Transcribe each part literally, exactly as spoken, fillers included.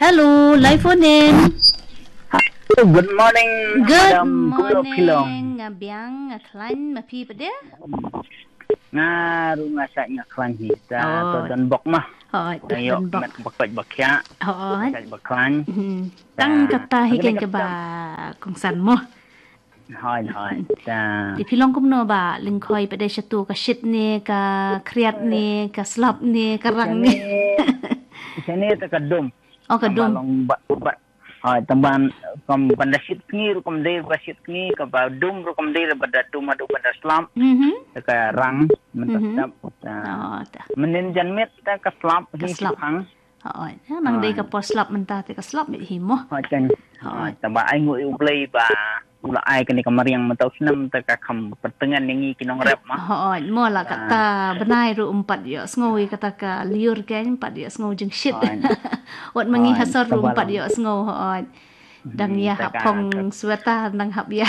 Hello, live phone in. Hello, good morning, Good madam. Kumno phi long? Morning, nga biang, nga khlaiñ, ma phi pat de? Nga ruh nga sa nga khlaiñ hi. Ta Oh. to don bok ma. Hooid, Nga ïoh don bok. met bok bok bok ya. Hooid. Bok bok khlaiñ. Hmm. Ta Tang kata hi kane keng ka kaba kongsan mo. Hoi, hoi. Ta. Te phi long kumno ba lyngkhoi pat de shatu, ka shit ne, ka khriat ne, ka slap ne, ka rang ne? Shane, shane ta ka dum. Oh, ka Tang ba dum. long ba, ba. Hoi, tang ban, kam ban da shit sngi ruh kam dei ba shit sngi, ka ba dum ruh kam dei ba da dum haduh ban da slap. Mhm. Ta ka rang, mynta Mhm. slap. Ta. Oh, ta. Mynnin janmiet ta ka slap Ka hi slap. shipang. Hooid. Ya, nang dei ka Hooid. por slap mynta te ka slap hi mo. Hooid kan. Hooid. Hooid. Tang ba ai nguh ïa U Blei ba u la ai kane ka mariang mynta u snem te ka kham pyrteng ïa ngi ki nongrep ma. Hooid, mo la Ah. kata bnai ruh ym pat ïoh sngew ïa kata ka lyiur, kan ym pat ïoh sngew jingshit. Hooid. Wat ma ngi ha Hooid, sor ruh ym pat tang ba ïoh sngew, hooid. Dang Hmm, ïa te hap ka, phong ka sweater, dang hap ïa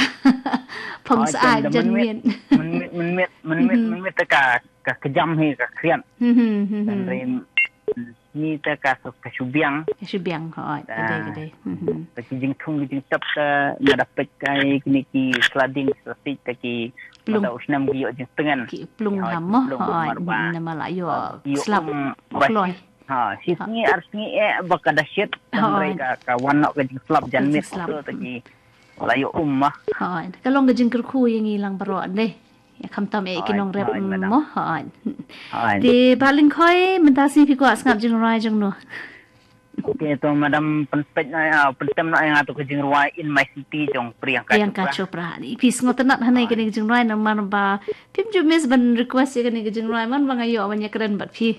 phong Hooid, syaid tang da janmiet. mynmiet, mynmiet, mynmiet, mynmiet, Mhm. mynmiet te ka, ka kjam hi ka khriat. Mhm, mhm. Hynrei Ni te ka, ka shu biang. Ka shu biang, hooid, Ta. ka dei, ka dei. Mhm. Ta ki jingthung ki jingtep te nga da peit kai kine ki sla ding sla siej te ki Plung. mynta u snem ki ïoh jingtngen. Ki plung Hooid, ham mo, plung hooid. mar ba. Namar la ïoh Hooid, ïoh slap um ba kloi. shit. Ha, shi Ha. sngi ar sngi eh ba ka da shit. Hooid. Hynrei ka, ka wan noh ka jingslap janmiet Jingslap. tu te ki la ïoh um ma. Hooid. Ka long ka jingkyrkhu ïa ngi lang baroh dei. Ïa khamtam eh ki Hooid, nongrep hooid, madam. mo, hooid. Hooid. Te Bah Lyngkhoi, mynta sngi phi kwah sngap jingrwai jong no? Okay, to madam, pynpeit noh, ah, pyntem noh ïa nga to ka jingrwai In My City jong Priyanka Priyanka Chopra. Chopra. Ni phi sngewtynnat hangne Hooid. kane ka jingrwai namar ba phim ju miss ban request ïa kane ka jingrwai man ba nga ïoh ban ïakren bad phi.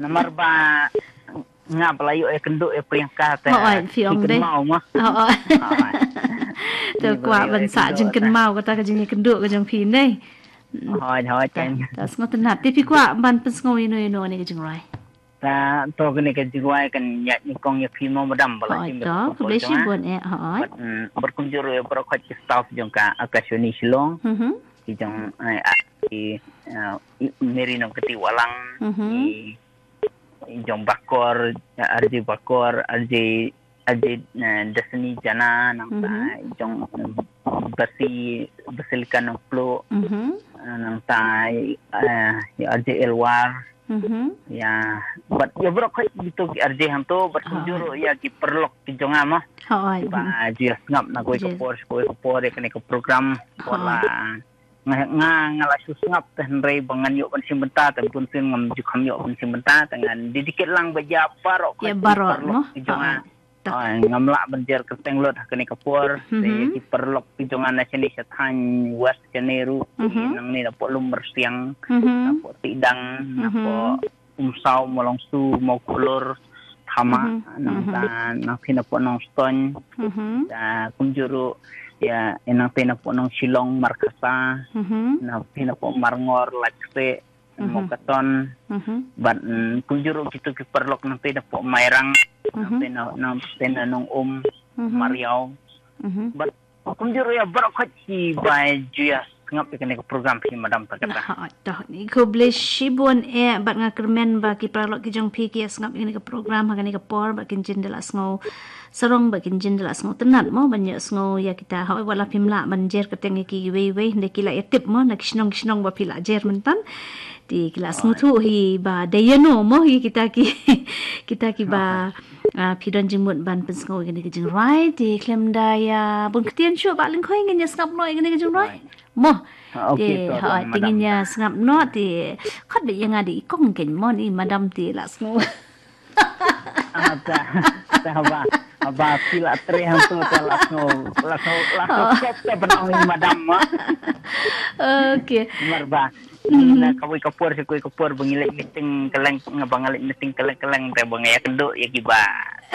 Namar ba nga ba la ïoh ïakynduh ïa Priyanka te Hooid, phi ong dei. kynmaw ma. Hooid. Hooid. Te Ni ba kwah la ïoh ban sah ïakynduh te. jingkynmaw kata ka jingïakynduh ka jong phi ne. Hooid, hooid, Ta, kan. ta sngewtynnat. Te phi kwah ban pynsngew ïano ïano ne ka jingrwai? Ta, to kane ka jingrwai kan ïa nyngkong ïa phi mo madam ba la Hooid, shim ïa to, ka khublei khubor jong nga. shibun eh, hooid. Bad, mm, bad kumjuh ruh ïa baroh khoit ki staff jong ka Akashvani Shillong. Mhm. Ki jong, eh, ah, ki, eh, Mary Nongkti Wahlang, Mhm. ki jong Bakor, R J Bakor, R J, R J, eh, Destiny Jana, nangta Mhm. jong, eh, Basi, Basilika Nongpluh, Mhm. eh, nangta, eh, ïa R J Elwar, Mhm. ïa, bad ïa baroh khoit kito ki R J hangto, bad Oh. kumjuh ruh ïa ki paralok ki jong nga ma. Hooid. Ba, Mhm. ju ïa sngap na kawei ka Ju. por, kawei ka por, ïa kane ka program, Hooid. wala nga, nga, nga la shu sngap te hynrei ba ngan ïoh ban shim bynta te bun sien ngam ju kham ïoh ban shim bynta te ngan dedicate lang ba ïa baroh Ïa khoit ki baroh, paralok mo? ki jong nga. Hooid. Ta. Hooid, ngam lah ban jer kyrteng lut ha kane ka por. Te Mhm. ki paralok ki jong nga na shane sha thaiñ West shane ruh. Mhm. Nangne na poh Lumrsiang, Mhm. na poh Tidang, na Mhm. poh Umsaw, Mawlongsu, Mawkhlur, Thama, Mhm. nangta, Mhm. na phi na poh Nongstoiñ. Mhm. Ta kumjuh ruh, ïa, ïa nangta na poh Nongshillong, Markhasa, Mhm. na phi na poh Marngor, Laitkaseh, Mhm. Mawkaton. Mhm. Bad, mm, kumjuh ruh kito ki paralok nangta na poh Mairang, Mhm. nangta na, nangta na Nongum, Mhm. Mariaw. Mhm. Bad kumjuh ruh ïa baroh khoit ki ba ju ïa sngap ïa kane ka program phi madam ta kata. Hooid, to, ni khublei shibun eh, bad nga kyrmen ba ki paralok ki jong phi ki ïa sngap ïa kane ka program ha kane ka por, bad kin jin da la sngew sarong, bad kin jin da la sngewtynnat mo, ban ïoh sngew ïa kita. Hooid, wat la phim lah ban jer kyrteng ïa kiwei kiwei, hynrei ki la ïa tip mo, na ki shnong ki shnong ba phi la jer mynta. Te ki la Hooid. sngewthuh hi ba dei ïano mo hi kita ki, kita ki ba, Hooid. ah, phi don jingmut ban pynsngew ïa kane ka jingrwai. Te khlem da ïa bun ktien shuh Bah Lyngkhoi, ngin ïa sngap noh ïa kane ka jingrwai. Hooid. Mo. Ah, okay, Te, to, hooid, te madam. ngin ïa sngap noh, te khot beit ïa nga da i kong keiñ mo, ni madam te la sngew. Ah, ta, ta haba, haba phi la trei hangto ta la sngew, la sngew, la sngew Oh. kop ta ban ong i madam mo. Okay. Namar ba, Hmm. na kawei ka por, sa kawei ka por ba ngi leit meeting kylleng, nga ba nga leit meeting kylleng kylleng, te ba nga ïakynduh ïa ki ba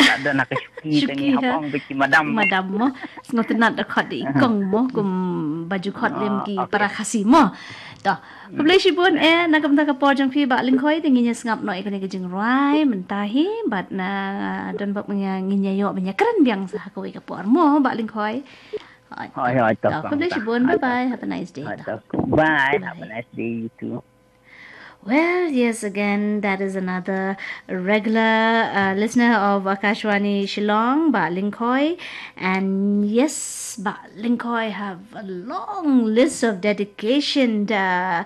la don ha ka shuki, Shuki, te ngi hap ha? ong beit ki madam mo. Madam mo. Sngewtynnat da khot da i kong mo, kum ba ju khot lem ki Ah, okay. para Khasi mo. To, khublei shibun eh, na ka bynta ka por jong phi Bah Lyngkhoi, te ngin ïa sngap noh ïa kane ka jingrwai mynta hi, bad na don bok ngin ïa, ngin ïa ïoh ban ïakren biang sa ha kawei ka por mo Bah Lyngkhoi. Hooid. Hooid, hooid, To, to, khublei to. shibun, bye bye, have a nice day. Hooid, To. to. Bye, have a Bye. nice day, you too. Well, yes, again, that is another regular uh, listener of Akashvani Shillong, Bah Lyngkhoi. And yes, Bah Lyngkhoi have a long list of dedication uh,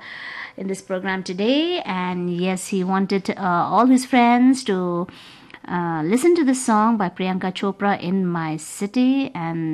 in this program today. And yes, he wanted uh, all his friends to uh, listen to this song by Priyanka Chopra, In My City. And